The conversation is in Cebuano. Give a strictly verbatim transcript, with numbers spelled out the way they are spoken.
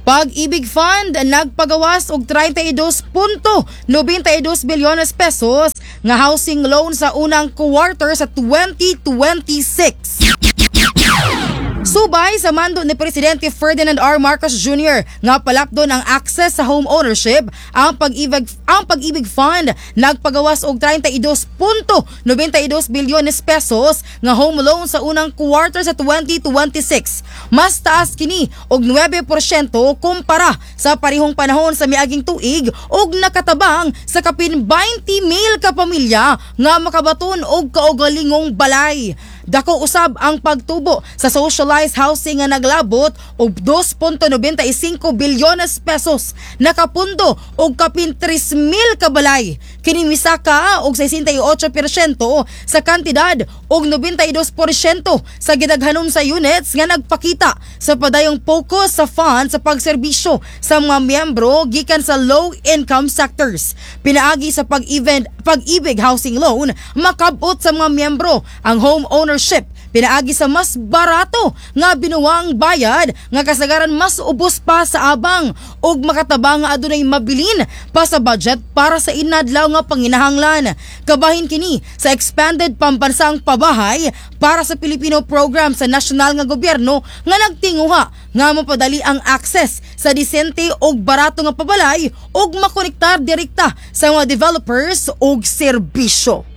Pag-ibig Fund nagpagawas og trenta y dos punto nobenta y dos bilyones pesos nga housing loan sa unang quarter sa twenty twenty-six. Subay sa mando ni Presidente Ferdinand R. Marcos Junior nga palapdon ang access sa home ownership, ang Pag-ibig ang Pag-ibig Fund nagpagawas og trenta y dos punto nobenta y dos bilyones pesos nga home loan sa unang quarter sa twenty twenty-six. Mas taas kini og nuwebe porsyento kumpara sa parehong panahon sa miaging tuig ug nakatabang sa kapin beinte mil ka pamilya nga makabaton og kaugalingong balay. Dako usab ang pagtubo sa socialized housing nga naglabot og dos punto nobenta y singko bilyones pesos, nakapundo og kapin tres mil ka balay. Kini misaka og sesenta y otso porsyento sa kantidad og nobenta y dos porsyento sa gidaghanon sa units nga nagpakita sa padayong focus sa fund sa pagserbisyo sa mga miyembro gikan sa low income sectors. Pinaagi sa pag-event Pag-ibig Housing Loan, makabot sa mga miyembro ang home ownership pinaagi sa mas barato nga binuwang bayad nga kasagaran mas ubos pa sa abang ug makatabang nga adunay mabilin pa sa budget para sa inadlaw nga panginahanglan. Kabahin kini sa expanded Pambansang Pabahay para sa Pilipino program sa nasyonal nga gobyerno nga nagtinguha nga mapadali ang access sa disente ug barato nga pabalay ug makonektar direkta sa mga developers ug serbisyo.